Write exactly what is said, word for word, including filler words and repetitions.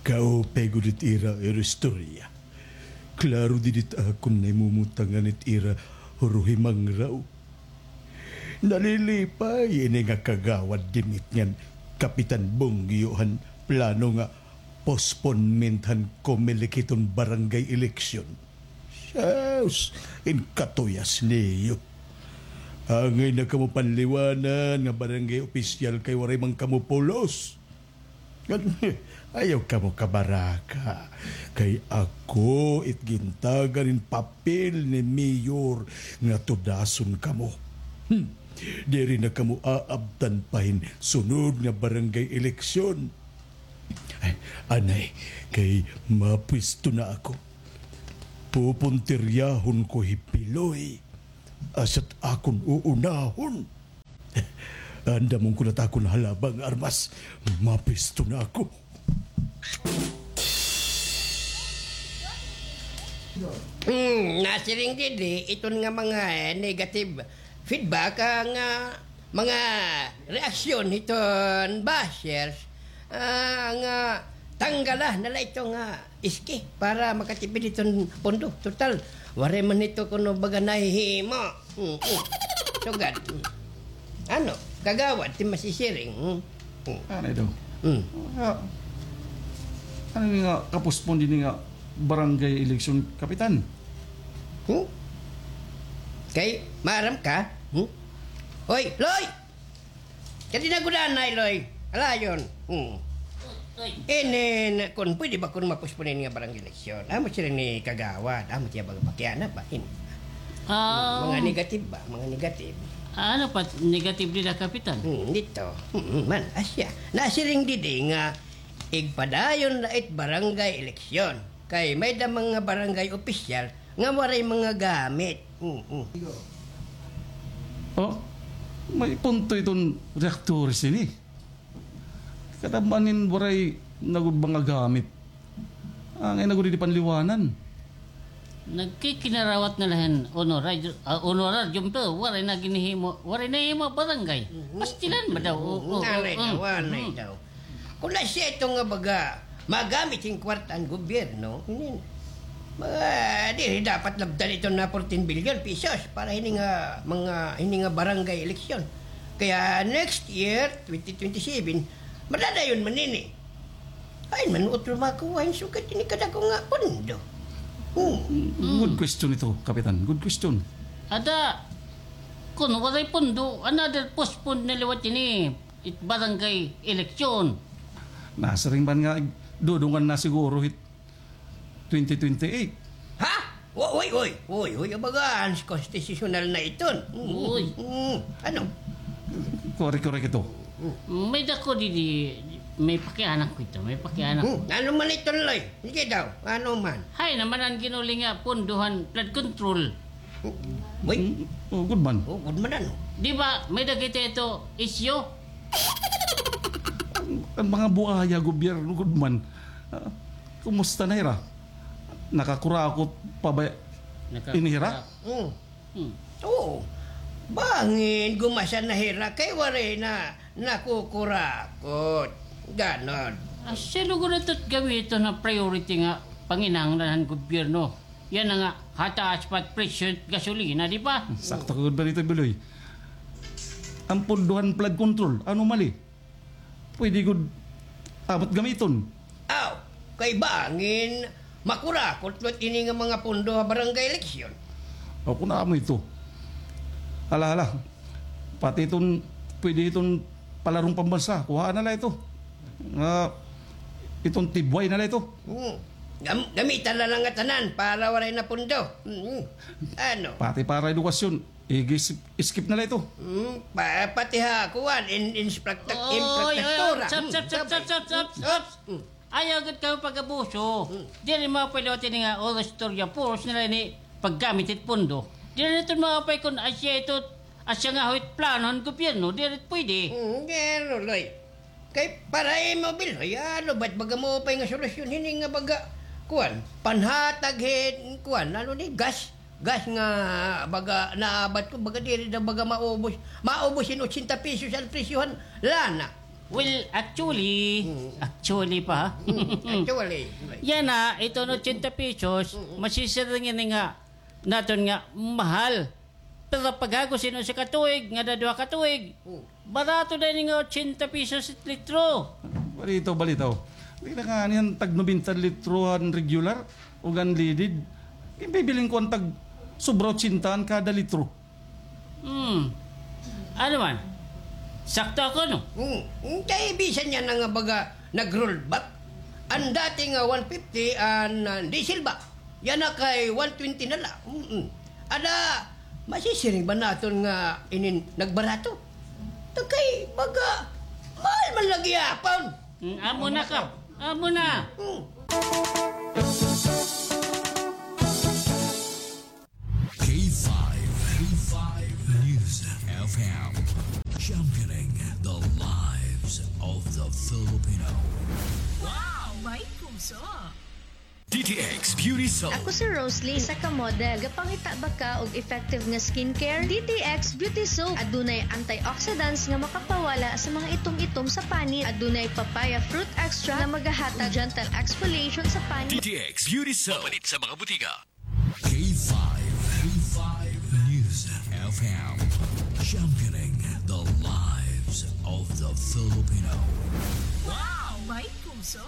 Kaupay gud it ira, ira istorya. Klaro didi it akon nahimutangan it ira huruhimangraw. Nalilipay ini nga kagawad Dimit ngan Kapitan Bongyo han plano nga postponement han Comelec hiton barangay eleksyon. Sus, in katuyas niyo. Angay na kamo panliwanan nga barangay opisyal kay waray man kamo pulos. Ayaw kamo kabaraka, kay ako it gintagan hin papel ni Mayor nga tudason kamo. Hmm. Diri na kamo aabtan pa hin sunod nga barangay eleksyon. Ay, anay, kay mapuesto na ako. Pupuntiryahon ko hi Piloy. Asya't akon uunahon. Andamon ko na it akon halaba nga armas. Mapuesto na ako. Hmm, nasiring didi, iton nga mga, eh, negative feedback, ah, nga mga reaksyon hiton bashers, ah, nga tanggala na la ito nga iski para makatipid hiton pondo. Total, waray man ito kuno baga nahihimo. Mm, mm. Sugad. Mm. Ano, kagawad, ti masisiring. Mm. Mm. Ano ito? Mm. Ah, ano ini nga kapospon dinhi nga barangay eleksyon, Kapitan? Hmm? Kay, maaram ka? Hmm? Hoy, Loy! Kadi na gud anay, Loy. Alayon. Hmm. Oy. Inin, kun pwede ba kun mapospon ini nga barangay eleksyon? Amo siring ni kagawad, amo tiya baga pakiana ba? In. Ah, mga negative ba? Mga negative. Ano pa negative nila, Kapitan? Hmm, dito. Hmm, man, asya. Nasiring didi nga igpadayon la it barangay eleksyon. Kay may-ada mga barangay opisyal nga waray mga gamit. Mm, mm. Oh, may punto iton reaktores ini. Kadam-an hin waray na gud mga gamit. Angay na gud didi panliwanan. Nagkikinarawat na la hin honorarium, ah, honorarium, pero waray na ginhihimo, waray nahimo barangay. Mhm. Pastilan ba daw? Oo, oo, anay daw, anay daw. Kun asya ito nga baga magamit hin kwarta han gobyerno, inin, mga diri dapat labdan ito na fourteen billion pesos para hini nga, mga, hini nga barangay eleksyon. Kaya next year, twenty twenty-seven, madadayon man ini. Ay, man utro makuha hin sugad ini kadako nga pondo. Hmm. Good question ito, Kapitan. Good question. Ada, kun waray pondo, another postpone na liwat ini. It barangay election. Nasiring man nga dudungan na siguro hit twenty twenty-eight. Ha? Uy, uy, uy, uy, uy, abaga, unconstitutional na iton. Mm, uy. Mm, ano? Korek, korek ito. May dako didi, may pakianak ko ito, may pakianak ko. Hmm, ano man iton, Loy? Sige daw, ano man? Hay, naman an ginuli nga pondo han flood control. Uy. Mm, oh, good man. Oh, good man, ano? Di ba, may-ada kita ito isyu? An, an mga buaya gobyerno, good man. Ah, kumusta na hira? Nakakurakot pa ba ini hira? Nakakurakot. Mm. Hmm. Oo. Bangin gumasa na hira kay waray na nakukurakot. Ganon. Ah, sino gud ito it gamiton nga priority nga panginahanglan han gobyerno? Yana nga, hataas pa it presyo it gasolina, di ba? Sakto ka gud ba dito, Biloy? An pondo han flood control, ano mali? Pwede gud amo it gamiton. Aw, kay bangin makurakot liwat ini nga mga pondo ha barangay eleksyon. O, kun amo ito. Hala, hala. Pati iton, pwede iton palarong pambansa, kuhaa na la ito. Nga, iton tibway na la ito. Hmm. Gam-, gamitan na la ngatanan para waray na pondo. Hmm. Ano? Pati para edukasyon, i-skip, i-skip na la ito. Hmm. Pa-, pati ha, kuan, in-, infracta-, infrastruktura. Oy, oy, oy, stop, stop, stop, stop, stop, stop. Hmm. Ayaw gud kamo pag-abuso. Hmm. Diri maupay liwat ini nga Oro Istorya, puros na la ini paggamit hit pondo. Diri na ito maupay kun asya ito, asya nga ho it plano han gobyerno, diri pwede. Hmm, gero, Loy. Kay para imo, Biloy, ano ba it baga maupay nga solusyon hini nga baga, kuan, panhatag hit, kuan, ano ni, gas? Gas nga baga naabat ko, baga diri daw baga maubos, maubos hin ochenta pesos an presyo han lana. Well, actually, actually pa, ha? Actually. Yana, ito nga ochenta pesos, masisiring ini nga naton nga mahal. Pero paghago sin usa ka tuig, ngada duha ka tuig, barato na ini nga ochenta pesos it litro. Balitaw, balitaw. Diri la nga niyan tag nobenta litro an regular, ug an leaded. Ginbibilin ko an tag sobra ochenta an kada litro. Hmm. Ano man? Sakto ako, no? Hmm. Hmm, kay bisan yana nga baga nag-roll back. An dati nga one fifty an, ah, diesel ba? Yana kay one twenty na la. Mm-mm. Ada, masisiring ba naton nga inin nagbarato? Ta kay baga mahal man la gihapon. Hmm, amo na ka. Amo na. Hmm. K five, K five News F M, championing the lives of the Filipino. Wow! May puso! D T X Beauty Soap. Ako si Rosalie, isa ka model. Gapangita ba ka og effective nga skincare? D T X Beauty Soap. Adunay antioxidants nga makapawala sa mga itom-itom sa panit. Adunay papaya fruit extract nga magahatag gentle exfoliation sa panit. D T X Beauty Soap. Mapalit sa mga butika. K five, K five News F M, championing the lives of the Filipino. Wow! May puso!